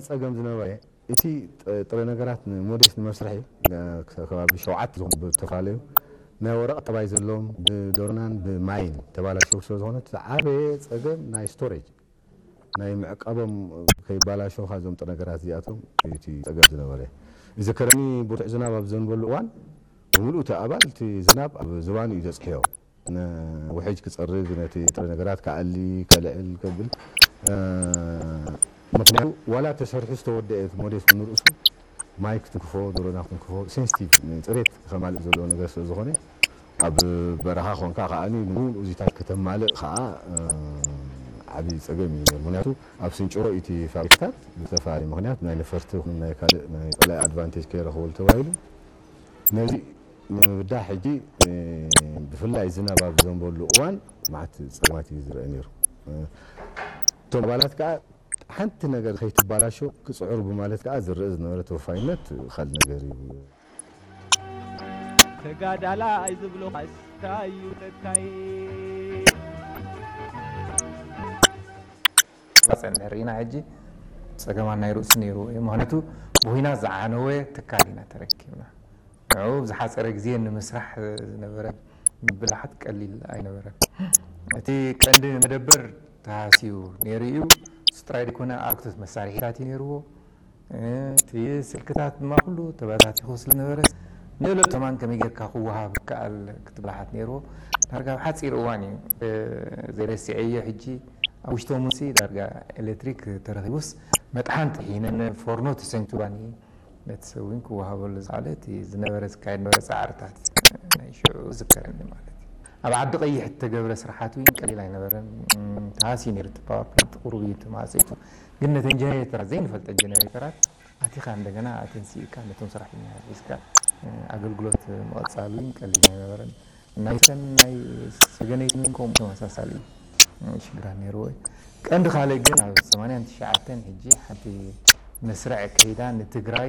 ጸገም ዝነበረ እቲ ጥረ ነገራት ንሞዴስ ንመስርሒ ከባቢ ሸውዓተ ዝኾኑ ብተፈላለዩ ናይ ወረቐት ጠባይ ዘለዎም ብዶርናን ብማይን ተባላሸው ስለ ዝኾነ እቲ ዝዓበየ ጸገም ናይ ስቶሬጅ ናይ ምዕቃቦም ከይባላሸው እዞም ጥረ ነገራት እዚኣቶም እቲ ጸገም ዝነበረ። እዚ ከረኒ ብርቱዕ ዝናብ ኣብ ዘንበሉ እዋን ብምሉእ እቲ ኣባል እቲ ዝናብ ኣብ ዝባኑ እዩ ዘጽሕዮ። ውሕጅ ክጸርግ ነቲ ጥረ ነገራት ክኣሊ ከልዕል ከብል ምክንያቱ ዋላ ተሰርሑ ዝተወደአ ሞዴስ ንርእሱ ማይ ክትንክፎ ዶሮና ክትንክፎ ሴንስቲቭ ጽሬት ከማልእ ዘለዎ ነገር ስለ ዝኾነ ኣብ በረኻ ኮንካ ከዓ ንሙሉ እዚታት ከተማልእ ከዓ ዓብዪ ፀገም እዩ። ምክንያቱ ኣብ ስንጭሮ እቲ ፋብሪካታት ብዝተፈላለየ ምክንያት ናይ ነፈርቲ ናይ ካልእ ናይ ፀላኢ ኣድቫንቴጅ ከይረኽበሉ ተባሂሉ ነዚ ንምብዳህ ሕጂ ብፍላይ ዝናብ ኣብ ዘንበሉ እዋን ማዕት ፀገማት እዩ ዝረአ ነይሩ። እቶም ኣባላት ከዓ ሓንቲ ነገር ከይትባላሾ ክፅዕሩ ብማለት ከዓ ዝረአ ዝነበረ ተወፋይነት ካልእ ነገር እዩ። ተጋዳላይ ዝብሎ ካስታ እዩ ተካይ ጸንሕ ርኢና ሕጂ ጸገማን ናይ ርእሱ ነይሩ እዩ። ምክንያቱ ብኩናት ዝዓነወ ትካል ኢና ተረኪብና። ንዕኡ ብዝሓጸረ ግዜ ንምስራሕ ዝነበረ ብልሓት ቀሊል ኣይነበረን። እቲ ቀንዲ መደበር ተሃስዩ ነይሩ እዩ። እሱ ጥራይ ዘይኮነ ኣርክቶት መሳርሒታት እዩ ነይርዎ። እቲ ስልክታት ድማ ኩሉ ተበታቲኹ ስለዝነበረ ንእለቱ ከማን ከመይ ጌርካ ክወሃብ ይከኣል ክትብላሓት ነይርዎ። ዳርጋ ኣብ ሓፂር እዋን እዩ ዘይረሲዐዮ ሕጂ ኣብ ውሽጦም ውሲ ዳርጋ ኤሌክትሪክ ተረኺቡስ መጥሓን ጥሒነን ፎርኖ ተሰንኪዋኒ ነቲ ሰብ እውን ክወሃበሉ ዝኸኣለ እቲ ዝነበረ ዝካየድ ነበረ ፃዕርታት ናይ ሽዑ ዝከረኒ ማለት እዩ። ኣብ ዓዲ ቀይሕ እተገብረ ስራሓት እውን ቀሊል ኣይነበረን። ተሃስዩ ነይሩ እቲ ፓወር ፕላንት ቁሩብ እዩ ተማፀይቱ ግን ነተን ጀነሬተራት ዘይንፈልጠ ጀነሬተራት ኣቲኻ እንደገና ኣተንሲእካ ነቶም ሰራሕተኛታት ሒዝካ ኣገልግሎት ምቕፃል እውን ቀሊል ኣይነበረን። ናይ ሰን ናይ ሰገነይትን እውን ከምኡ ተመሳሳሊ ሽግራት ነይርዎ እዩ። ቀንዲ ካልእ ግን ኣብ ሰማንያን ትሽዓተን ሕጂ ሓንቲ መስርዕ ከይዳ ንትግራይ